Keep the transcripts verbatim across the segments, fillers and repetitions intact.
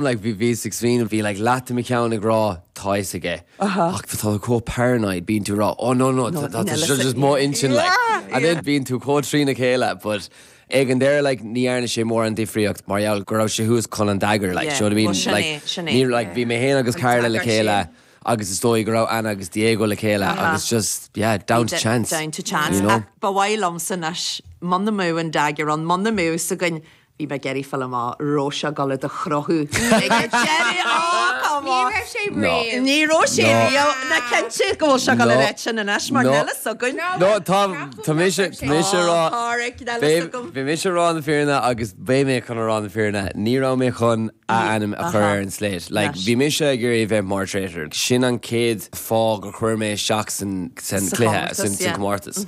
Like bhí bhí ag smaoineamh bhí like leath de mo cheann ag rá tá fhios aige. Ach tá chomh paranoid bíonn tú rá oh no no tá just mo intinn like. And then bíonn tú chomh trína chéile but ag an deireadh like ní dhearna sé mórán difríocht mar gheall go raibh sé thuas chun an dagger like you know what I mean? Like ní like bhí mé féin agus Carla le chéile agus is dóigh go raibh Anna agus Diego le chéile agus just yeah down to chance. Down to chance. You know? Ach ba mhaith liomsa anois muna mbeadh an dagger ann, muna mbeadh fhios againn bhí mé ag iarraidh fáil amach raibh sé ag dul do chruthú. Ag an deireadh, oh come Ní on. raibh sé No. riamh. Ní raibh sé No. riamh na cinnte go bhfuil sé ag dul No. a rá sin anois mar No. níl fhios againn. No tá tá mise tá mise Oh, rá Páraic, níl fhios agam. Bhí mise rá na fírinne agus beidh mé chun a rá na fírinne, ní raibh mé chun a ainm a chur Aha. ar an slate. Like, Leis. bhí mise ag iarraidh bheith mar traitor. Sin an chéad fáth gur chuir mé isteach san san Sa cluiche chomórtas, san san yeah. comórtas.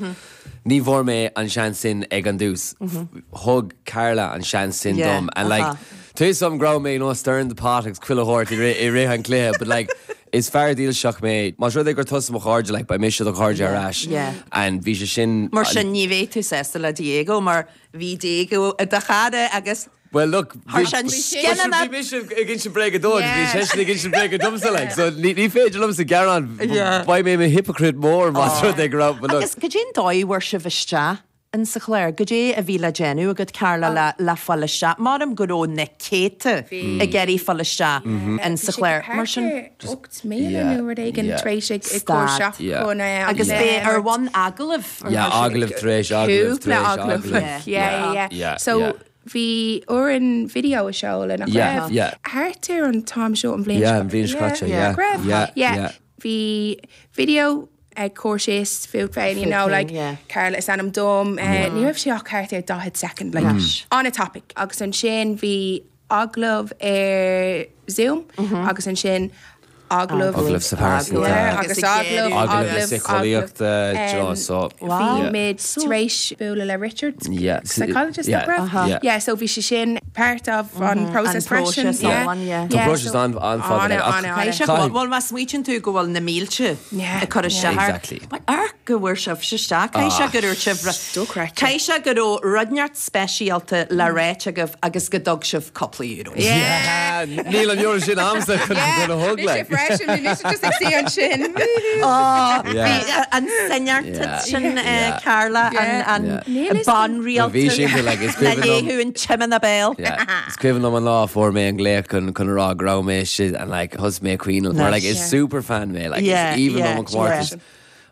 Ní bhfuair mé an seans sin ag an dtús. Thug Carla an seans sin Yeah, dom. And like, aha. Tá some go raibh mé no stirring the pot agus chuile shórt i rith i rith an cluiche, but like, is fear dílseach mé Más rud é gur tusa mo chairde like, beidh mise do chairde ar ais. yeah. And bhí sé sin Mar sin ní bheidh tú sásta le Diego mar bhí Diego i do chara agus Well look Thar sin Bhí mise ag insint bréige dó agus bhí seisean ag insint bréige domsa like so ní ní féidir liomsa gearán Yeah. Beidh mé i mo hypocrite mór más rud é go raibh but look Agus cad é an dóigh a bhfuair sibh isteach in sa chlár, cad é a bhí le déanamh agat Carla le le fáil isteach. Mar go raibh na céadta ag iarraidh fáil isteach in sa chlár. Mar sin Ocht míle Yeah, nó rud éigin yeah. tar éis ag ag cur Stad. isteach Yeah. chun, eh, agus an- bé ar bhonn agallamh. Yeah, agallamh tar éis agallamh Cúpla tar éis agallamh. agallamh. Yeah, yeah, yeah. Yeah, So yeah. bhí orainn video a sheoladh nach Yeah, raibh? yeah. Thart ar an t-am seo an bhliain Yeah, seo- an bhliain seo caite, yeah, nach raibh? yeah, yeah. yeah. Bhí video ag cur síos fút féin, you know, Fút féin, like yeah. Carla is ainm dom, eh, ní raibh sé ach thart ar daichead second, like, on a topic. Agus ansin bhí agallamh ar Zoom agus ansin agallamh Agallamh sa pearsanta. Yeah, Agus agus ag agallamh deireadh. Agallamh síceolaíochta, do you know, so Bhí Yeah. muid tar éis bualadh le Richard, Yeah. psychologist Yeah. nach raibh? Uh-huh. Yeah, so bhí sé sin part of an process An process freisin. Yeah. iomlán, yeah. Tá process an- an-fhada, like, ach- An- an- Caithfidh sé Caithfidh- bhfuil má smaoitíonn tú go bhfuil na mílte Yeah, ag cur isteach. Exactly. Mar go bhfuair sibh isteach, Caithfidh sé go raibh sibh Dochreidte. Caithfidh sé go raibh rud inteacht speisialta le ráit agaibh agus go dtug sibh cúpla euro. Yeah, níl an euro sin agamsa chun chun a thug Bhí sé like. freisin, bhí mise just ag suí ansin. Yeah. Bhí an soineantacht Yeah. sin eh, Yeah. Carla Yeah. an Níl fhios banrialta Bhí sin like, is na cuimhin liom- léthú an timna béal. Yeah. Is cuimhin liom an lá fuair mé an glaoch chun chun rá go raibh mé sin and like thosaigh mé ag caoineadh mar like is Yeah. super fan mé like Yeah, is even yeah, liom an comórtas.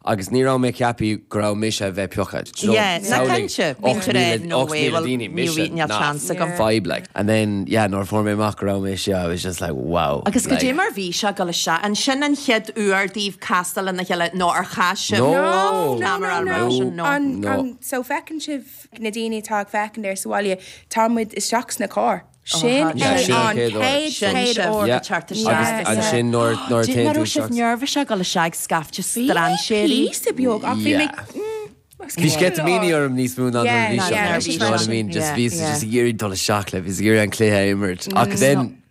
Agus ní raibh mé ceaptha go raibh mise a bheith pioctha. Do you know, Yeah, na samhlaigh cinnte, bhí ocht tú rá, míle- no ocht way, míle well, daoine, ní mise, bhí- níl nah, chance agam. Vibe like. And then yeah, nuair fuair mé amach go raibh mé I was just like wow. Agus go like, dé mar bhí sé go se an sin an chéad uair daoibh castáil lena chéile nó ar chas sibh No. No, no, camera no, ar no. sin, no. An, No. an, so feiceann sibh na daoine atá ag féachaint ar sa bhaile, tá muid isteach sna cairr. Sin Yeah, é sin an an chéad uair. chéad Sin chéad sibh uair. Yeah. teacht Agus isteach. ansin nuair nuair Dé téann mar tú sibh isteach- nervous go le seag scaifte strainséirí. Píosa beag ach bhí mé Yeah. Bhí sceitimíní orm níos mó ná Yeah, bhí sé, yeah, you know what I mean? Just Yeah, bhí yeah. just ag iarraidh dul isteach le, bhí ag iarraidh an cluiche a imirt. Ach then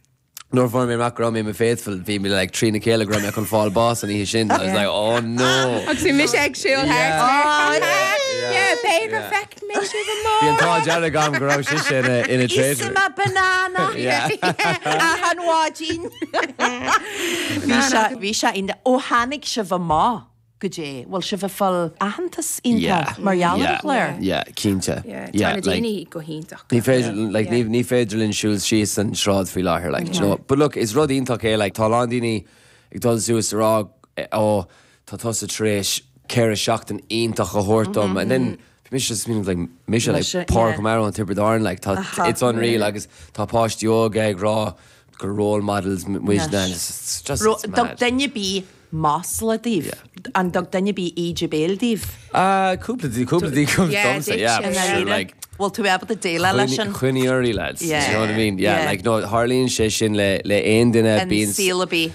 nuair fuair mé amach go raibh mé mo faithful, bhí mé like trína chéile go raibh mé chun fáil bás an oíche sin. I was like, oh no. Agus bhí mise ag siúl Yeah. thart. Yeah. Yeah, b'fhéidir Yeah. feic mé sibh Bhí an amach. t-ádh dearg agam go raibh sise ina ina traitor. Íosfaidh mé banana Yeah. achan mhaidin. Bhí sé bhí sé in ó tháinig sibh amach go dé, bhfuil sibh ag fáil aitheantas iontach mar gheall ar an chlár. Yeah, cinnte. Yeah, Yeah, tá na like, daoine go hiontach. Ní féidir like, Yeah. ní, ní féidir linn siúl síos an sráid faoi láthair like, do you know? But look, is rud iontach é like, tá a lán daoine ag dul suas a rá eh, ó tá tusa tar éis ceithre seachtain iontach a thabhairt dom and then bhí mise just meaning, like mise like Mise, Páirc yeah. O'Mara an Tiobraid Árann like tá it's unreal agus tá páistí óga ag rá gur role models muid na it's just Ro it's dug mad. duine bí masla daoibh an dug duine bí íde béil daoibh. Uh, cúpla dí cúpla dí cúpla Yeah, domsa did yeah you? sure, like Bhfuil tú ábalta déileáil leis sin Chuiní lads Yeah. you know what I mean yeah, Yeah. like no tharlaíonn sé sin le le aon duine an bíonn saol a bí.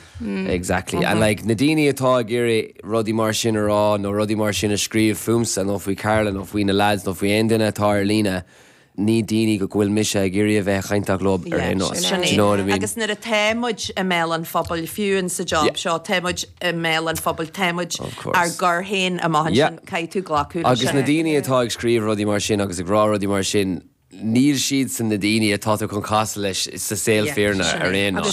Exactly. And like na daoine atá ag iarraidh rudaí mar sin a rá nó rudaí mar sin a scríobh fúmsa nó faoi Carla nó faoi na lads nó faoi aon duine atá ar líne ní daoine go bhfuil mise ag iarraidh a bheith cainteach leo ar aon nós. Sin Do you know what I mean? Agus nuair atá muid i mbéal an phobail fiú in sa job Yeah. seo, tá muid i mbéal an phobail, tá muid Of course. ár gcur féin amach Yeah. ansin caithfidh tú glacadh leis Agus sin. na daoine atá ag scríobh rudaí mar sin agus ag rá rudaí mar sin níl siad san na daoine atá tú chun casadh leis sa saol fírinne ar aon.